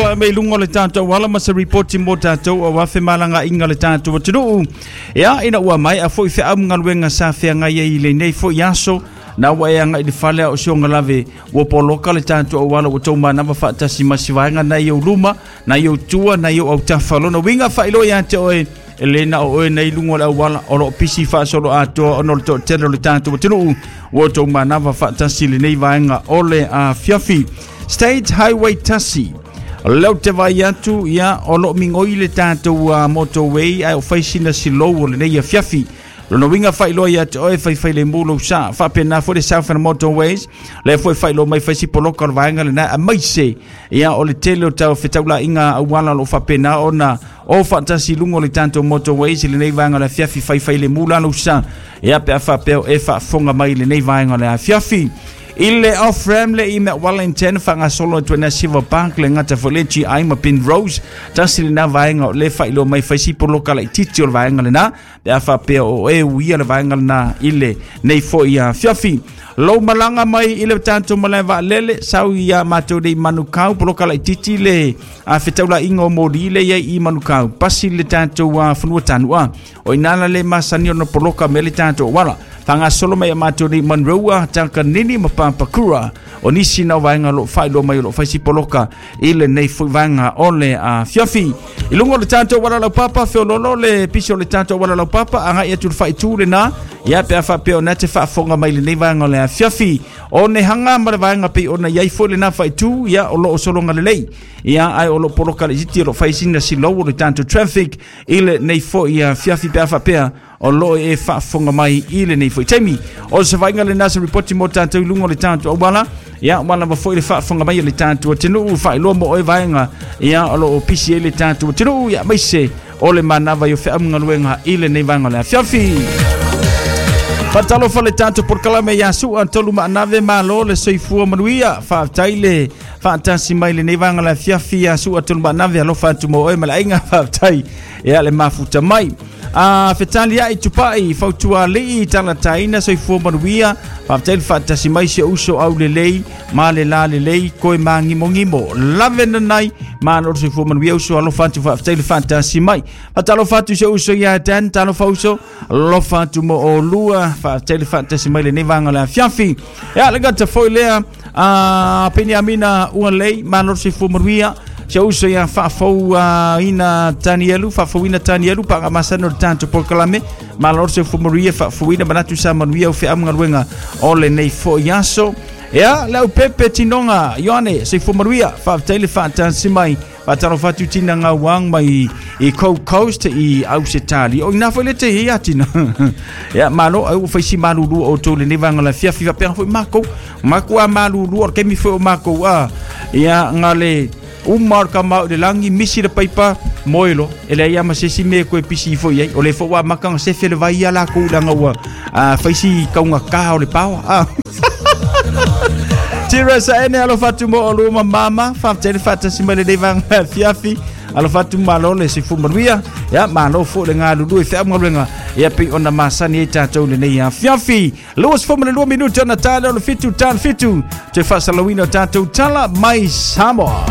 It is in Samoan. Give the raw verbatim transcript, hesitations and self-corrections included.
tulai mai luga o le tatou ala ma se ripoti mo tatou auā femalagaaiga a le tatou atunuu. Ia ina ua mae'a fo'i feaugaluega sa feagai ai i lenei fo'i aso na ua e aga'i le fale a o sioga lave ua poloka le tatou auala ua tou manava faatasi ma si vaega nai ou luma nai ou tua nai ou autafa. Lona uiga faailoa iā te oe e lē na o oe nei luga o le auala o loo pisi faasolo atoa ona o le toatele o le tatou atunuu ua tou manava faatasi lenei vaega o le afiafi. State Highway tasi leo te vai atu ia o loo migoi le tatou uh, motorway ae o fai sina silou o lenei afiafi. Lona uiga faailoa ia te oe faifai le mu lou sa faapena foi le Southern Motorways lea foi faailoa mai faisi poloka o le vaega lena amaise ia o le tele o tau fetaulaiga auala o loo faapena ona o faatasi luga o le tatou motorways i lenei vaega o le afiafi faifai le mu la lou sa ia pe a faapea e faafofoga mai i lenei vaega o le afiafi. I le off-ramp le i mea Wellington faagasolo atu ai na Silver Park le gata foi le G I ma Pin Rose tasi lena vaega o le faailoa mai faisi poloka laitiiti o le vaega lena pe a faapea o e uia le vaega lena i le nei fo'i afiafi. Lou malaga mai i le tatou malae vaalele sau ia matou nei Manukau poloka laitiiti le a fetaulaiga o moli le iai i Manukau pasi le tatou fanua tanu'a o ina la le masani ona poloka me le tatou auala faagasolo mai a matou nei Monroe Takanini ma Papakura o nisi na vaega o loo faailoa mai o loo faisi poloka i lenei foi vaega o le afiafi. I luga o le tatou auala laupapa feololo le pisi o le tatou auala laupapa agai atu le faaitu lena ia pe a faapea ona te faafofoga mai lenei vaega o le afiafi. O nehaga ma le vaega pei ona iai foi lena faaitu ia o loo sologa lelei ia ae o loo poloka laitiiti o loo fai sina silou o le tatou traffic i lenei foi afiafi pe a faapea o loo e faafofoga mai i lenei foi taimi. O se vaaiga lena se ripoti mo tatou i luga o le tatou auala ia ua lava foi le faafofoga mai o le tatou atunuu faailoa mo oe vaega ia o loo pisi ai le tatou atunuu ia maise o le manava i o feaugaluega i lenei vaega o le afiafi. Faatalofa le tatou polokalame ia sua tolu maanave malo le soifua manuia faafetai le faatasi mai lenei vaega o le afiafi ia sua tolu maanave alofa atu mo oe ma le aiga faafetai ia le mafuta mai. A fetali ai tupai fautualii talataina soifua manuia faafetai le faatasi mai si uso au lelei ma le la lelei koe magimogimo lave nanai malo le soifua manuia uso alofa atu faafetai le faatasi mai. Faatalofa atu si uso ia Dan talofa uso alofa atu mo olua faafetai le faatasi mai lenei vaega o le afiafi. Ia le gata foi lea a Peniamina Ualei malo le soifua manuia se uso ia faafou ina Tanielu faafouina Tanielu paagamasani o le tatou polokalame malo le soifua manuia faafouina manatu sa manuia o feaugaluega o lenei fo'i aso. Ia le aupepe tinoga Ioane soifua manuia faafetai le faatasi mai faatalofa atu tina gauang mai i Gold Coast i Ausitali o ina foi le te ia tina ia malo ai ua faisi malulu o tou lenei vaega o le afiafi faapea foi makou makou a malulu o le taimi foi o makou a ia gale uma o le kamau i le lagi misi le paipa moe loa e leai a ma se isi mea e koe pisi ifo i ai o le foi ua amata ona sefe le vai ia lakou leaga ua faisi kaugatā o le paoa a Tira sa ene alofa atu mo olua ma mama faafetai le faatasi mai lenei vaega afiafi alofa atu malo le soifua manuia ia malo foi le galulue feaugaluega ia pei ona masani ai tatou lenei afiafi. Luasefulu ma le lua minute ona tale o le fitu tale fitu toe faasalauina o tatou tala mai Samoa.